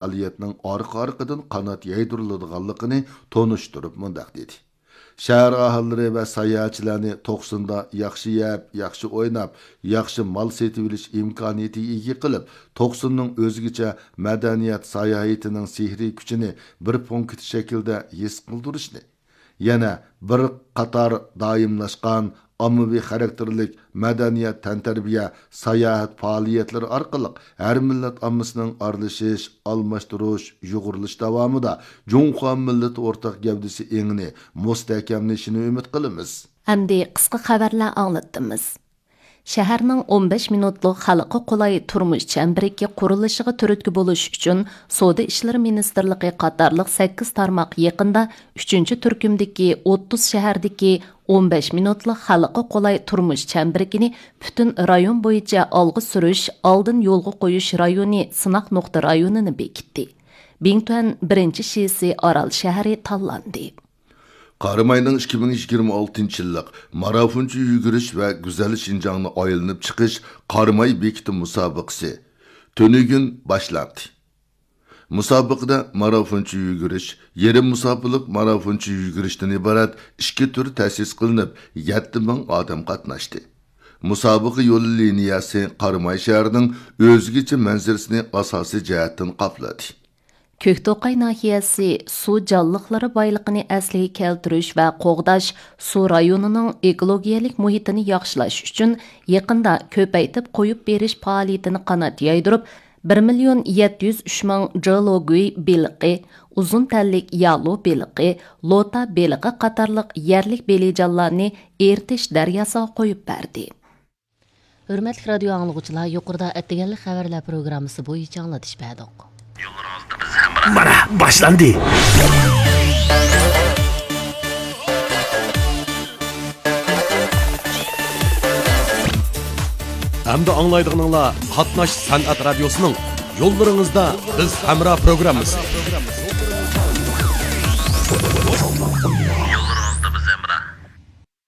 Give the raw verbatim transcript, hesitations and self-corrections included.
پائالىيەتنىڭ ئارقا-ئارقىدىن قانات يايدۇرۇلىدىغانلىقىنى تونۇشتۇرۇپ مۇنداق دېدى: شەھەر ئاھالىلىرى ۋە ساياھەتچىلەرنى توقسۇندا ياخشى يەپ، ياخشى ئويناپ، ياخشى مال سېتىۋېلىش ئىمكانىيىتىگە ئىگە قىلىپ، توقسۇننىڭ ئۆزگىچە مەدەنىيەت ساياھىتىنىڭ سېھرىي كۈچىنى بىر پونكىت شەكلىدە ھېس قىلدۇرۇشنى، يەنە بىر قاتار دائىملاشقان ئاممىۋى خاراكتېرلىك مەدەنىيەت، تەنتەربىيە، ساياھەت پائالىيەتلىرى ئارقىلىق ھەر مىللەت ئاممىسىنىڭ ئارىلىشىش، ئالماشتۇرۇش، يۇغۇرۇلۇش داۋامىدا جۇڭخۇا مىللىتى ئورتاق گەۋدىسى ئېڭىنى مۇستەھكەملىشىنى ئۈمىد قىلىمىز. ئەمدى قىسقا خەۋەرلەر ئاڭلىتىمىز. شەھەرنىڭ ئون بەش مىنۇتلۇق خەلققە قولاي تۇرمۇش چەمبىرىكى قۇرۇلۇشىغا تۈرتكە بولۇش ئۈچۈن، سودا ئىشلىرى مىنىستىرلىقى قاتارلىق سەككىز تارماق يېقىندا ئۈچىنچى تۈركۈمدىكى ئوتتۇز شەھەردىكى ئون بەش مىنۇتلۇق خەلققە قولاي تۇرمۇش چەمبىرىكىنى پۈتۈن رايون بويىچە ئالغا سۈرۈش، ئالدىن يولغا قويۇش رايونى سىناق نۇقتا رايونىنى بېكىتتى. بىڭتۈەن بىرىنچى شىسى ئارال شەھىرى تاللاندى. قاراماينىڭ ئىككى مىڭ يىگىرمە ئالتىنچى يىللىق مارافونچە يۈگۈرۈش ۋە گۈزەل شىنجاڭنى ئايلىنىپ چىقىش قاراماي بېكىتى مۇسابىقىسى تۈنۈگۈن باشلاندى. مۇسابىقىدە مارافونچە يۈگۈرۈش، يېرىم مۇساپىلىق مارافونچە يۈگۈرۈشتىن ئىبارەت ئىككى تۈر تەسىس قىلىنىپ، يەتتە مىڭ ئادەم قاتناشتى. مۇسابىقە يول لىنىيەسى قاراماي شەھىرىنىڭ ئۆزگىچە مەنزىرىسىنى ئاساسىي جەھەتتىن قاپلىدى. كۆكتوقاي ناھىيەسى سۇ جانلىقلىرى بايلىقىنى ئەسلىگە كەلتۈرۈش ۋە قوغداش، سۇ رايونىنىڭ ئېكولوگىيەلىك مۇھىتىنى ياخشىلاش ئۈچۈن يېقىندا كۆپەيتىپ قويۇپ بېرىش پائالىيىتىنى قانات يايدۇرۇپ، بىر مىليون يەتتە يۈز ئۈچ مىڭ جېلوگۈي بېلىقى، ئۇزۇن تەنلىك يالۇ بېلىقى، لوتا بېلىقى قاتارلىق يەرلىك بېلىجانلارنى ئېرتىش دەرياسىغا قويۇپ بەردى. ھۆرمەتلىك رادىيو ئاڭلىغۇچىلار، يۇقىرىدا ئەتىگەنلىك خەۋەرلەر پروگراممىسى بويىچە ئاڭلىتىش بەردۇق. مانا باشلاندى. ئەمدى ئاڭلايدىغىنىڭلار قاتناش سەنئەت رادىيوسىنىڭ يوللىرىڭىزدا بىز ھەمراھ پروگراممىسى.